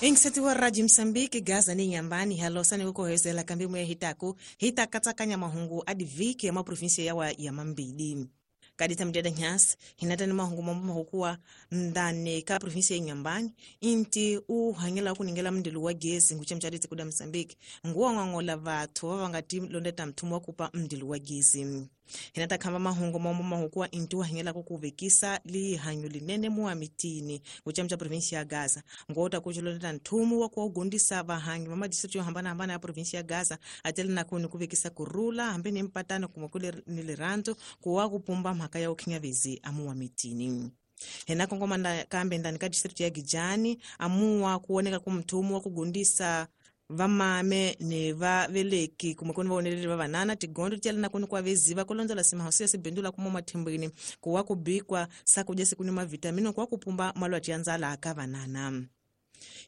Ingisetiwa Radio Msambiki Gaza ni Nyambani halosani kukohezela kambi mwe hitaku hita katsakanya mahungu adiviki ya maprovinsia yawa ya mambili. Kadita mjada nyasi hinata ni mahungu mambo mahukuwa ndani ka provinsia ya Nyambani inti uhangela kuningela mndilo wa gesi ngucha mchaditi kuda Msambiki nguwa ngangola vathu vavangati londeta mthumu wa kupa mndilo wa gesi. Hinata kamba mahungu mambo mahukuwa inti uhangela kukuvekisa lihanyu linene muwa mitini ngucha mcha provinsia ya Gaza ngota kuchilondeta nthumu wa kuwagundisa vahangi va madistrikti yo hambanahambana ya provinsia ya Gaza atele na kuni kuvekisa kurula hambi ni mpatano kumwe kule ni lirandzo kuwa kupumba mhaka ya ukhinyavezi amuwa mitini. Hena kongoma kambe ndani ka district ya Gijani amuwa kuoneka kumthumu wa kugundisa vamame ni vaveleki kumwe kuni vaoneleli va vanana tigondo tiela na kuni kwa veziva kulondzela simahosi ya sibindula kuma mathimbwini kuwa kubikwa sakudya sikuni mavitamini kuwa kupumba malwati ya ndzala ka vanana.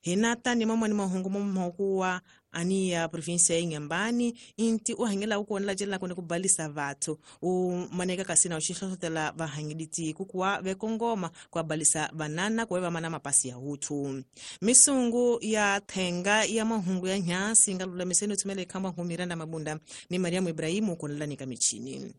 Hinata ni mamwani mahungu mahukuwa ani ya provinsia ya Nyambani inti uhangela ukuonela jela kuni kubalisa vathu umaneka kasina uxihlohlotela vahangiditi kukuwa vekongoma kuabalisa vanana kuwe vamana mapasi ya uthu. Misungu ya thenga ya mahungu ya nyasi nga lulamiseni uthumele ikhamba nhumiranda mabunda ni Mariamu Ibrahimu kuonela nika michini.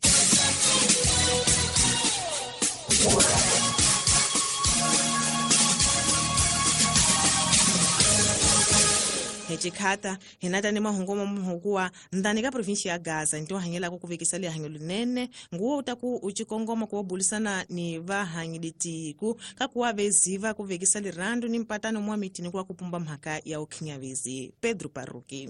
Hechikata hinata ni mahungu mahukuwa ndani ka provinsia ya Gaza nto hangela kukuvekisa lihanyo linene nguwo utaku uchikongoma kuwabulisana ni vahangiditiku kakuwa veziva kuvekisa lirandu ni mpatano mwa mitini kuwa kupumba mhaka ya ukhinyavezi. Pedro Paruki.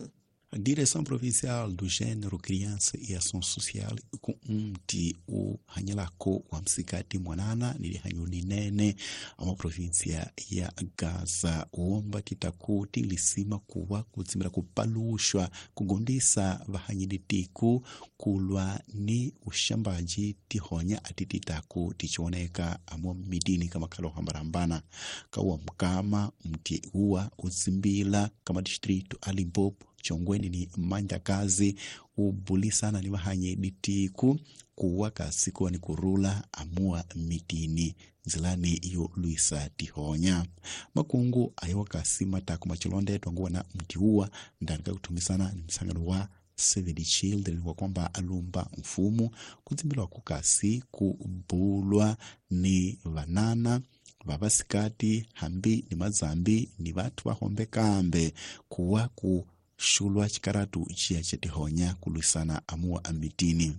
A Direção Provincial do Gênero, Criança e Ação Social ku mti u hanyelako wa msikati mwanana ni lihanyo linene ama provinsia ya Gaza uomba titaku tilisima kuwa kutsimira kupalushwa kugundisa vahanyiditiku kulwa ni ushambaji tihonya atititaku tichioneka amo mitini kama kalo hambarambana kawa mkama mti uwa utsimbila kama distrito a Limpopo Chongweni ni mandakazi ubulisana ni vahanye ditiku kuwa kasikuwa ni kurula amua mitini nzilani iyo luisa tihonya makungu ayo kasima taku machilondetwa nguwa na mtiuwa ndani kakutumisana ni msangano wa Save the Children kwa kwamba alumba mfumo kutsimbilwa kukasi kubulwa ni vanana vavasikati hambi ni mazambi ni vathu vahombe kambe kuwa ku shulwa chikaratu chiya chetihonya kulwisana amuwa amitini.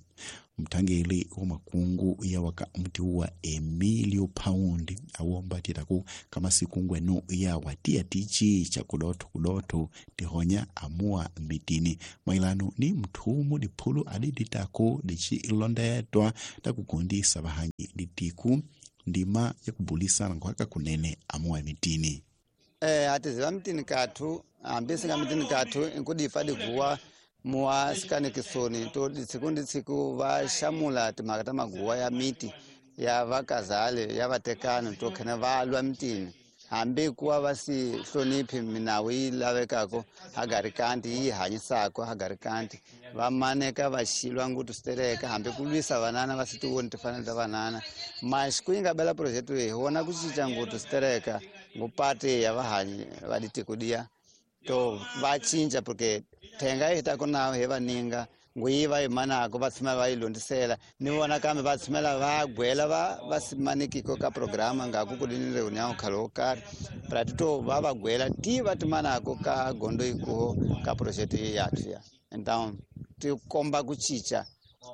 Mthangeli wa makungu ya waka mtiuwa Emilio Paundi awomba titaku kama sikungwenu ya watia tichi cha kudoto kudoto tihonya amuwa mitini mailano ni mthumu diphulu adiditako dichi ilondetwa takugundisa vahanyi ditiku ndima ya kubulisana nkhwaka kunene amuwa mitini. Atiziva mitini kathu hambi singa mitini kathu inkudifa diguwa muwa sikanikisoni to tsiku ndi tsiku va xamula timhaka ta maguwa ya miti ya vakazale ya vatekani to khene va lwa mitini hambi kuwa va si hloniphi minawu yi lavekako hagarikanti yi hanyisako hagarikanti va maneka va xilwa nguthu switereka hambi ku lwisa vanana va si tivoni timfanelo ta vanana mas ku yi nga bela project leyi hi vona ku cinca nguthu switereka ngupati ya vahanyi va ditiko diya to va cinca porque thenga yi ta ku na hi vaninga nguyi va yi manako va tshama va yi londisela ni vona kambe va tshamela va gwela va simanikiko ka programa nga ku ni reunião khale wo karhi prati to va va gwela ti va timanako ka gondo ikuho ka project yathu ya então ti komba ku cinca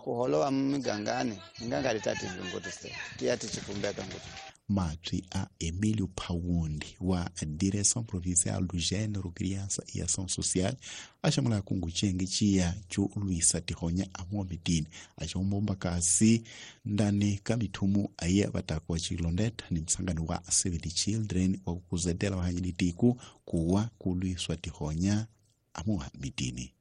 ku holova migangani hi nga nga ri ta tivingoti se ti ya ti chipumbeka ngopfu. Matri a Emílio Paundi wa Direção Provincial do Gênero, Criança e Ação Social achamula kungu chenge chiya cho luisa tihonya amuwa mitini achombomba kasi ndani ka mithumu aye vatakuwa chilondetha ni msangano wa Save the Children wa kukuzetela vahanyiditiku kuwa kulwiswa tihonya amuwa mitini.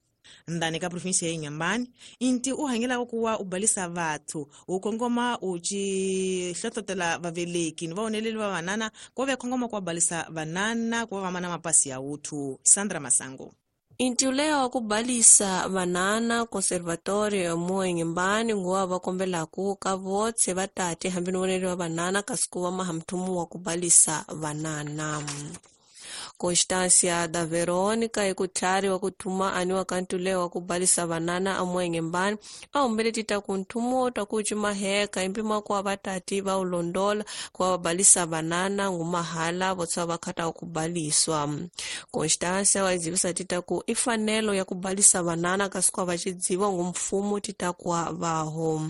Ndani ka provinsia ya Inhambane inti uhangela kuwa ubalisa vathu ukongoma uchi hlohlotela vaveleki ni vaoneleli va vanana kuva vekhongoma kuwa balisa vanana kuva vamana mapasi ya uthu. Sandra Masango. Inti uleya wa kubalisa vanana conservatorio muwa Inhambane nguwa va kombelaku ka votse va tate hambi ni voneli va vanana kasi ku va maha mthumu wa kubalisa vanana. Constância da Verônica ikutlhari wa kuthuma aniwa kantule wa kubalisa vanana amuengembani ahumbele tita kunthumo ta kucimaheka impima kuwa vatati va ulondola kuwa vabalisa vanana ngumahala votswa vakhata wa kubaliswa. Constância waizivisa tita ku ifanelo ya kubalisa vanana kasi kuwa vacidziwa ngumfumo tita kuwa vaho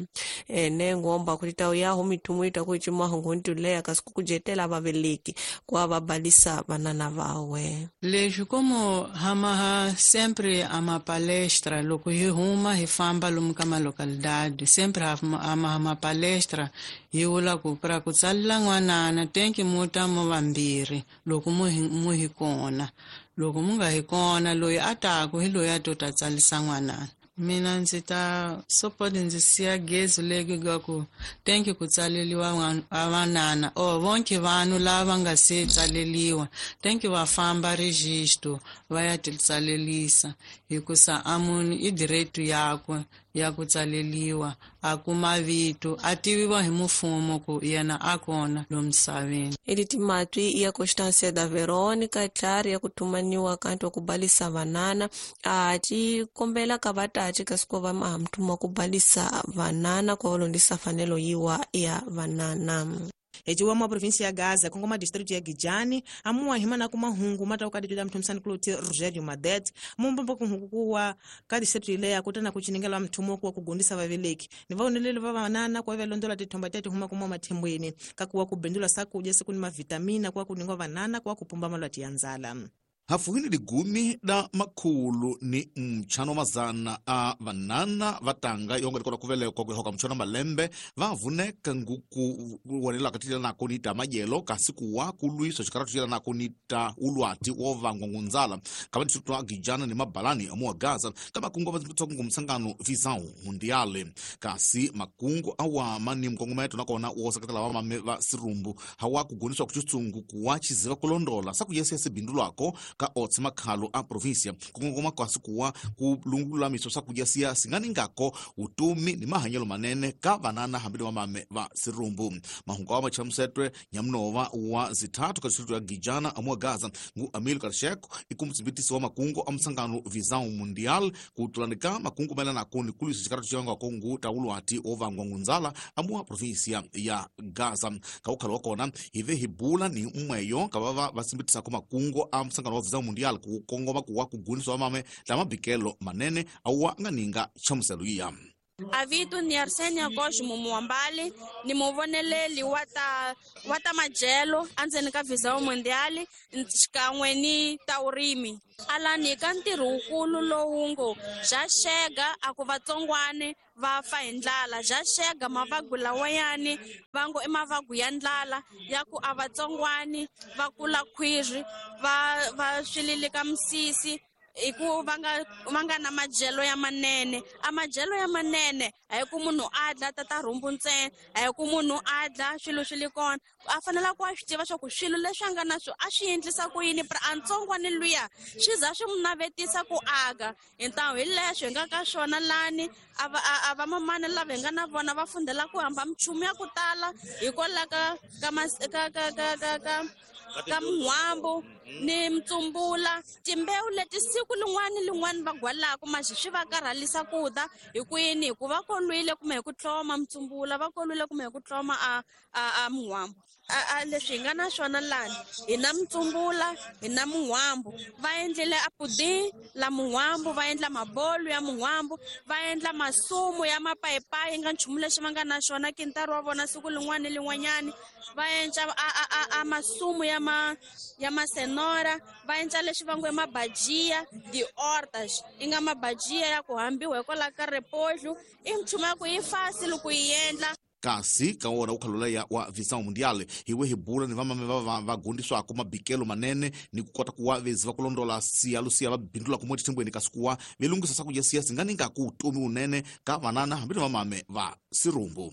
ene ngomba kutita yaho mithumo ita kucimaho nguntuleya kasi kukujetela vaveleki kuwa vabalisa vanana vawe. Leswi como hamaha sempre ama palestra loko hi huma hi famba lomu ka malocalidade sempre hamaha ma palestra hi vula ku pra ku tsalela n'wanana tenki mu ta mo vambirhi loko mu hi kona loko mu nga hi kona loyi a taku hi loyi a to ta tsalisa n'wanana. Mina ndzi ta support ndzi siya gezi leki ga ku tenki ku tsaleliwa vanana o vonke vanhu lava nga se tsaleliwa tenki va famba registro va ya ti tsalelisa hikusa a munhu i direito yakwe ya ku tsaleliwa a kuma vito a tiviwa hi mufumo ku yena a kona lo misaveni. Eliti matwi ya Constância da Verônica tlhari ya kuthumaniwa kanti wa kubalisa vanana a ci kombela ka vatati kasi ku va mahamthuma kubalisa vanana ku valondisa fanelo yiwa ya vanana. Heciwa mwa província ya Gaza kongoma distrito ya Gijani amuwa himana ku mahungu mata ukaditula mthumisani kuloti Rogério Madet mumbombo kuhungu kuwa ka distrito ile ya kutana kuchiningela mthumo kuwa kugundisa vaveleki ni vaoneleli va vanana kwa velondola tithomba tati huma kuma mathembweni kakuwa kubendula sakudya siku ni mavitamina kwa kuningwa vanana kwa kupumba malwati ya nzala. Hafuhini ligumi da makhulu ni mchano mazana a vanana vatanga yonga likona kuvelekwa kuhoka mchano malembe vavuneka nguku wanela katila nako nita majelo kasi kuwa kulwiso chikaratu chila nako nita ulwati wovangwa ngunzala kama tisutwa Gijana ni mabalani amuwa Gaza kama kungu vazimputsa msangano Visão Mundial kasi makungu awama ni mkongometo nakona wosakatela wamame va sirumbu hawa kuguniswa kuchitsungu kuwa chiziva kulondola sakuyesese bindu lwako ka otsi makhalo a província kukongoma kwasi kuwa kulungulamiso sakudya singaningako utumi ni mahanyelo manene ka vanana hambili wamame va sirumbu. Mahungu awa machamusetwe nyamunova wa zithathu ka distrito ya Gijana amuwa Gaza ngu Amil Karsheko ikumtsibitisi wa makungu a msangano Visão Mundial kutulanika makungu maelana ni kulwisa chikaratu chivangwako ngu taulwati ovangwa ngunzala amuwa província ya Gaza. Kaukhala wakona hive hibula ni mmweyo kavava vasimbitisako makungu a msangano wa Visão Mundial kukongoma kuwa kuguniswa mame la mabikelo manene auwa nganinga chamuselo iya. Avitu ni Arsenio Cosmo Muambali ni muvoneleli wata majelo andzeni ka Visão Mundial xikan'we ni taurimi alani ka ntirho wukulu lowungo bya xega a ku vatsongwane va fa hi ndlala bya xega mavagu lawayani va ngo i mavagu ya ndlala ya ku a vatsongwani va kula khwiri va swililika misisi iku va nga na majelo ya manene. A majelo ya manene a hi ku munhu a dla tata rhumbu ntsena, a hi ku munhu a dla swilo swi le kona, a fanele ku a swi tiva swa ku swilo leswi a nga na swo a swi endlisa ku yini pra a ntsongwani luya swi za swi n'wi navetisa ku aka hi ntamu hi leswi hi nga ka swona lani a va mamani lava hi nga na vona va fundela ku hamba minchumu ya ku tala hikwalaho ka min'hwambu ni mitsumbula timbewu leti siku lin'wana ni lin'wana va gwalaku maxi swi va karhalisa ku ta hi ku yini hi ku va kolwile kumbe hi ku tloma mitsumbula va kolwile kumbe hi ku tloma a min'hwambu. A leswi hi nga na swona lani hi na mitsumbula hi na min'hwambu va endlile a pudding la min'hwambu va endla mabolo ya min'hwambu va endla masumu ya mapayipayi nga nchumu lexi va nga na xona kintari wa vona siku lin'wana ni lin'wanyani va endla a masumu ya masenora va endla leswi va ngo i mabajia di-ortas i nga mabajia ya ku hambiwa hikwalaho ka repodlo i nchumu ya ku yi fasi loko yi endla. Kasi ka wona ukhalola ya wa Visão Mundial hiwe hibula ni vamame va gundiswako mabikelo manene ni kukota kuwa vezi va kulondola siya lusiya va bindula kumwe tithembweni kasi kuwa velungisa sakudya siya singaninga ku utomi unene ka vanana hambi ni vamame va sirumbu.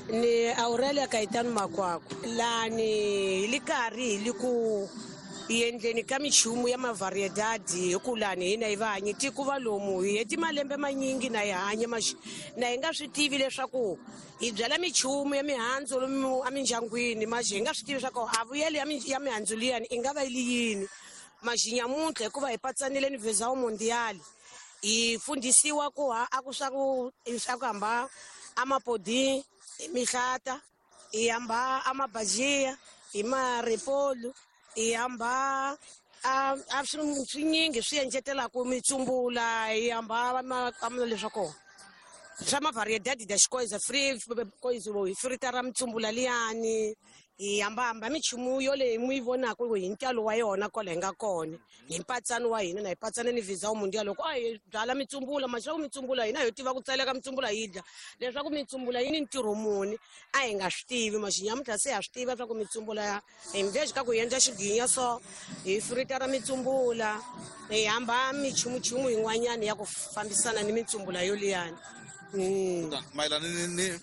Ni Aurelia Caetano Makwako lani hi li karhi hi li ku endleni ka minchumu ya mavariedadi hi ku lani hina hi va hanyi tiko va lomu hi heti malembe manyingi na hi hanya na hi nga swi tivi leswaku hi byala minchumu ya mihandzu lomu emindyangwini maxi hi nga swi tivi leswaku a vuyelo ya mihandzu liyani i nga va yi li yini. Majinyamuntlha hikuva hi patsanile ni Visão Mundial hi fundhisiwa ku ha a ku swa ku hamba amapodi hi mihlata, hi hamba amabajia hi maripolu, hi hamba a swinyingi swi encetelaka mitsumbula, hi hamba leswa kona swa mavariedade das coisas coisa hi fritara mitsumbula liyani, hi hambahamba minchumu yoleyi mi yi vonaka hi ntalo wa yona kwala hi nga kona hi mpatsano wa hina na hi patsane ni Visão Mundial. Loko a hi byala mitsumbula maswaku mitsumbula hina hi tiva ku tseleka mitsumbula yi dya, leswaku mitsumbula yi ni ntirho muni a hi nga swi tivi. Maxinyamuntlha se ha swi tiva swa ku mitsumbula hi mveji ka ku hi endla xiginya so hi fritara mitsumbula, hi hamba minchumuchumu yin'wanyana ya ku fambisana ni mitsumbula yoliyani. Mayelana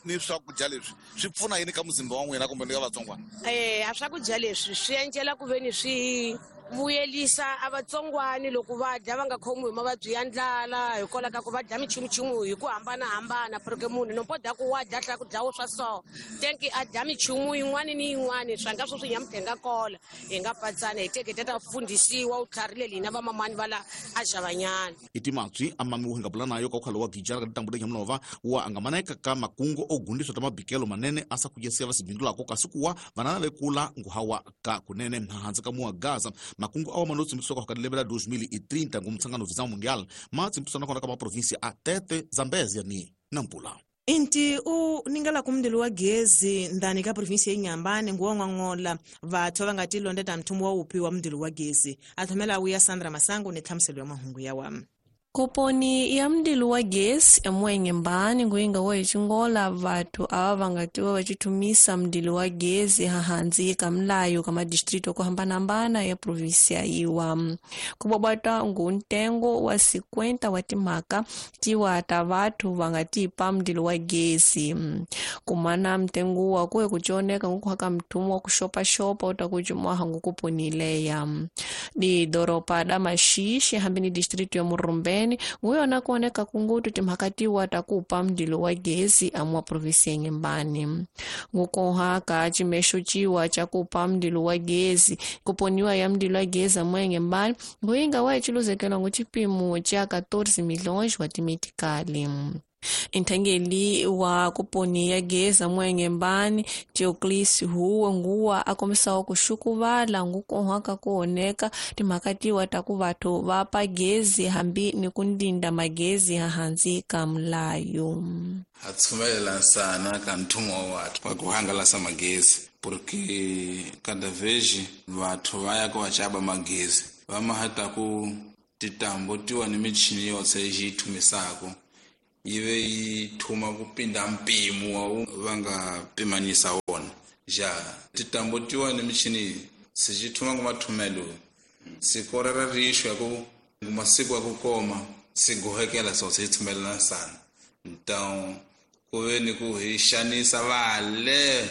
ni swakudya leswi swi pfuna yini ka muzimba wa n'wina kumbe ni ka vatsongwana? A swakudya leswi swi endlela ku veni swi vuyelisa a vatsongwani loko va dya va nga khomiwi hi mavabyi ya ndlala, hikwalaho ka ku va dya minchumuchumu hi ku hambanahambana. Porque munhu nompo dya ku wa dya tlhela ku dlawo swa so tenki a dya minchumu yin'wana ni yin'wana swa nga swo swi nyamutlha hi nga kola hi nga patsana hi teke ta fundhisiwa u tlharile hina vamamani va la a xavanyana. I timatswi a mami wo hi nga bula nayo ka ukhalo wa gijara ka ditambu nyamunova wa angamaneka ka makungu o gundiswa ta mabikelo manene a sa kujesiya va sibindulako kasi kuwa vanana vekula nguhawa ka kunene hansi ka muwa Gaza. Makungu awa manotsimbiswa ka lembe la 2030 ngumtsangano Visão Mundial matsimbiswa nakona ka maprovinsia a Tete, Zambezia ni Nampula. Inti u ningela kumndilo wa gezi ndani ka provinsia ya Inhambane nguwa vathu va nga tilonda ta mthumu wa upi wa mndilo wa gezi. Athomela uya Sandra Masango ni tlhamuselo ya mahungu ya wa. Koponi ya mdilu wa gesi emwengembani nguinga wa ichingola vathu ava vangatiwa vachithumisa mdilu wa gezi hahanzi ka mlayo ka madistrito ku hambanahambana ya provinsia iwa. Kubwabwata nguntengo wa 50 wa timhaka tiwa ta vathu vangatipa mdilu wa gezi. Kumana mtengo wa kuye kuchoneka ngukuhaka mthumu wa kuxopaxopa utakucimwaha ngukuponileya. Di doropa da Maxixe hambi ni distrito ya Murumbeni nguyona kuoneka kungutu timhakatiwa takupa mdilo wa gezi amwa provinsi ya Inhambane. Ngukoha ka cimexo ciwa ca kupa mdilo wa gezi kuponiwa ya mdilo wa gezi amwa Inhambane nguyinga wa iciluzekela ngu cipimo ca 14 milhões wa timetikali. Nthangeli wa kuponi ya gezi amwa Inhambane Teoclis Huwa nguwa akomisawa kuxukuvala ngukohaka kuoneka timhakatiwa ta ku vathu va pa gezi hambi ni ku ndinda magezi hahanzi ka mlayo. Ha tshumelela nsana ka nthumo wa vathu wa ku hangalasa magezi porque cada vez vathu va ya ku va xava magezi va mahata ku titambo tiwa ni michini yotse yi thumisako yive yi thuma ku pinda mpimo wa va nga pimanisa wona ja titambo tiwa ni michini se xi thuma ku mathumelo siku ra rixo ya ku masiku ya ku koma si gohekela so se thumelela sana. Então ku ve ni ku hi xanisa vale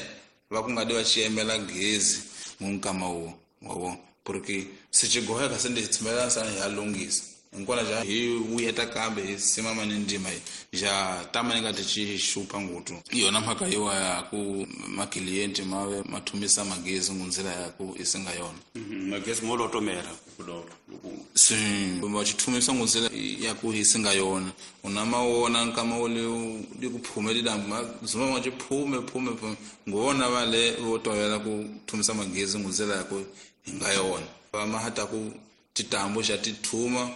va ku nga di va xiyemela gezi munkama wo wa porque se xi goheka se ndi thumelela sana hi ya lunghisa hinkwana ja hi vuyeta kambe hi simama ni ndima ja tama ni nga ti xi xupa ngutu yona mhaka yiwa ya ku maklienti ma ve ma thumisa magezi ngunzila ya ku isinga yona magezi mo lotomela kudolo si va xi thumisa ngunzila ya ku isinga yona una ma wona nkama wo le ku phume lidambu ma zuma ma xi phume phume phume ngona va le vo tovela ku thumisa magezi ngunzila ya ku hi nga yona va ma hata ku titambo xa ti thuma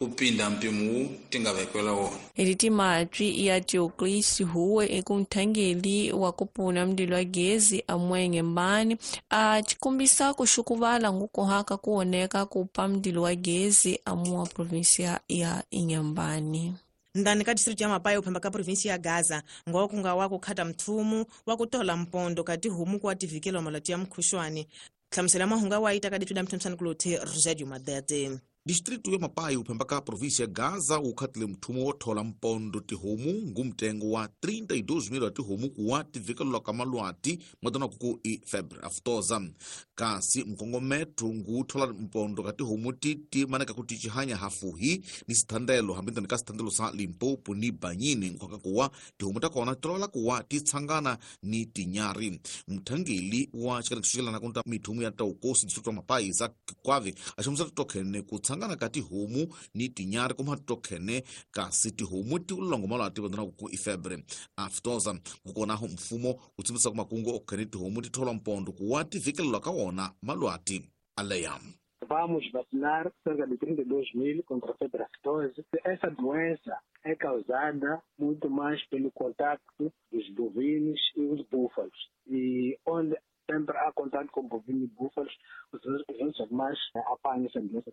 kupinda mpimo tingavekwela wona. Elitimatwi ya Teoclis Huwe ekunthangeli wa kupuna mdilo wa gezi amwenge mbani a chikumbisa kuxukuvala ngukohaka kuoneka kupa mdilo wa gezi amuwa provinsia ya Inhambane. Ndani ka district ya Mapai uphamba ka provinsia ya Gaza ngokunga wa kukhata mthumu wa kutola mpondo kati humu kwa tivikelo malati ya mkhushwani. Hlamusela mahunga wa ita ka dithuda mthemsani kulothe Rosadio Madete. Distrito ya Mapai uphembaka província ya Gaza ukhatile mthumo wo thola mpondo tihomu ngumtengo wa 32,000 wa tihomu kuwa tivikelelwa ka malwati matona kuku i febre aftosa. Kasi mkongometho nguthola mpondo ka tihomu titi maneka kuti chihanya hafuhi ni sithandelo hambintani ka sithandelo sa Limpopo ni Banyini nkhwaka kuwa tihomu takona tolola kuwa titshangana ni tinyari. Mthangeli wa xikarekixelana kunta mithumu ya taukosi distrito ya Mapai za Kwave axamusa tokhene ku tshangana ka tihomu ni tinyari kuma tokhene kasi tihomu ti ulongo malwati vandona ku ifebre aftosa. Kukonaho mfumo wu tsimbisa ku makungu okhene tihomu ti tholwa mpondo kuwa ti vikelelwa ka wona malwati aleya. Vamos vacinar cerca de 32.000 contra a febre aftosa. Essa doença é causada muito mais pelo contato dos bovinos e os búfalos. E onde sempre há contato com bovinos e búfalos, os outros animais apanham essa doença.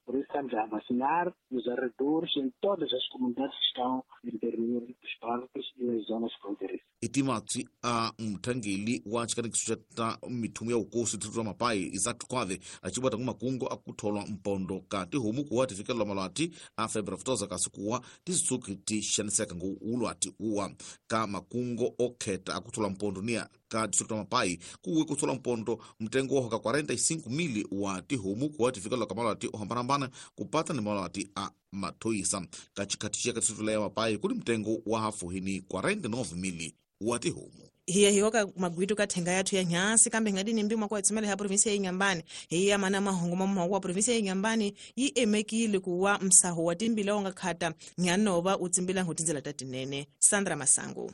Por isso estamos a vacinar nos arredores, em todas as comunidades que estão no interior dos parques e nas zonas fronteiriças. Itimatsi a mthangeli wa xikanekiso xa mithumu ya ukosi distrito ya Mapai Isaac Kwave acibata kumakungu akutholwa mpondo ka tihomu kuwa tifikelelwa malwati a febre aftosa kasi kuwa tisitsuki ti xaniseka ngu ulwati uwa ka makungu okheta akutholwa mpondo niya ka distrito ya Mapai kuwe kuthola mpondo mtengo wa hoka 45,000 wa tihomu kuwa tifikelelwa ka malwati ohambanahambana kupata ni malwati a mathoyisa. Ka xikhathi xa ka distrito ya Mapai kuli mtengo wa hafuhi ni 49,000 wa tihomu. Hiya hiyoka magwitu ka thenga yathu ya nyasi kambe ngadini mbimwa kwa tsumela ya provinsia ya Inhambane hiya mana mahungu mamahungu wa provinsia ya Inhambane yi emekile kuwa msaho wa timbila wanga khata nyanova utsimbila ngutinzela tatinene. Sandra Masango.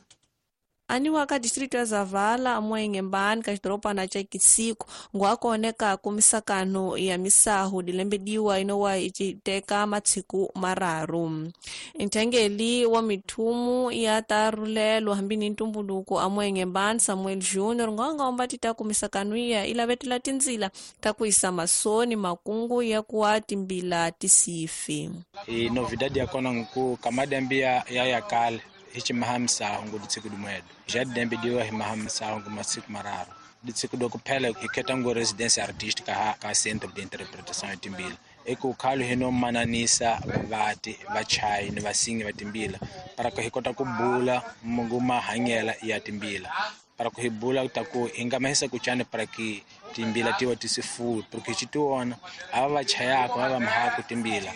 Aniwa ka distrito ya Zavala amwengembani ka xidorobana xa Kisiko ngwakoneka kumisakano ya misahu dilembediwa inowa iciteka matsiku mararu. Nthengeli wa mithumu ya tarulelo hambi ni ntumbuluko amwengembani Samuel Junior ngwanga omba tita kumisakano iya ilavetela tindzila ta kuisa masoni makungu ya kuwa timbila tisifi. E novidade ya kona nku kamadambia ya yakale hichi mahamsa hungu ditsiku dumwedo já dembe diwa mahamsa hungu masiku mararu ditsiku do kuphela iketa ngo residência artística ka centro de interpretação ya timbila eko khalo hino mananisa vati vachai ni vasingi va timbila para ko hikota kubula mungu mahanyela ya timbila para ko hibula taku ingamahisa kuchane para ki timbila tiwa tisifu porque chituona ava vachayako ava mahaku timbila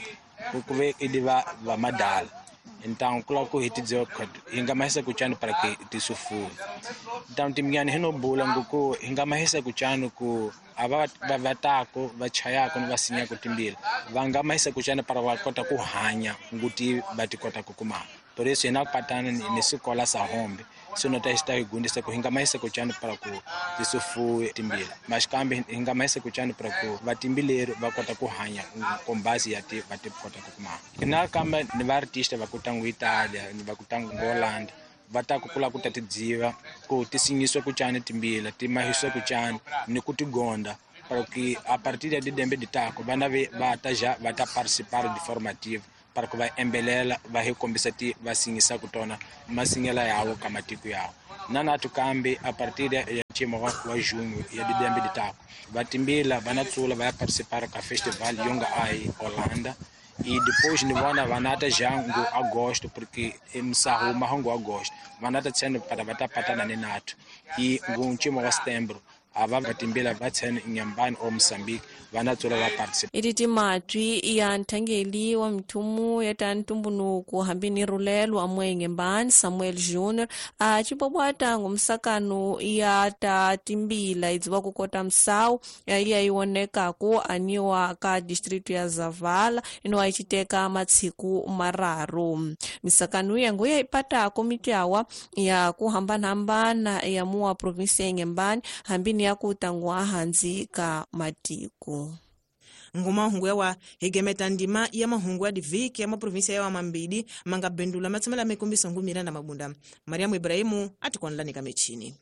kuve idiva va madala. Então, coloco hitidzo ingamahisa kuchano para que tisufu. Então timnyani hino bula nguku ingamahisa kuchano ku ava vatako vachayako vasinya kutimbila. Vangamahisa kuchano para vakota kuhanya nguti batikota kukuma. Por isso ina patana nesikola sa hombe. Sono ta esta igundisa ku ingamahisa kuchano para ku tisufu timbila. Mas kambe ingamahisa kuchano para ku vatimbilero vakota kuhanya com base ya te vatikota kukuma. Ina kamba ni vartista vakutangu Italia, ni vakutangu Holanda. Vatako kula kutatidziva ku tisingiswa kuchana timbila, timahiswa kuchana ni kutigonda para que a partir de dembe de tako vana vata já vata participar de formativa para que vai embelela vai recompensar vai singisa kutona masingela yawo kamatiko yawo nana tukambe a partir ya chimo wa junho ya dembe de tako vatimbila vanatsula vai participar ka festival yonga ai Holanda. E depois ni vona vanata já ngo agosto porque msahu mahongo agosto vanata tseno para vatapatana ni nato e ngunchimo wa setembro ava vatimbila va tseno Inhambane ou Moçambique vanatsola va participa. Ititi matwi ya nthangeli wa mithumu ya ta ntumbunuku hambi ni rulelo amwengembani Samuel Junior a cibobwata ngumsakano ya ta timbila idziwa kukota msawu ya iwonekaku aniwa ka distrito ya Zavala inowa iciteka matsiku mararu. Misakano ya nguya ipatako mityawa ya kuhambanahambana ya muwa provinsia ya Inhambane hambi ni ya kutangwa hanzi ka matiko. Ngumahungu yawa higemeta ndima ya mahungu ya diviki ya maprovinsia yawa mambidi manga bendula matsomela mikumbiso ngumira na mabunda. Mariamu Ibrahimu atikonlani kamechini.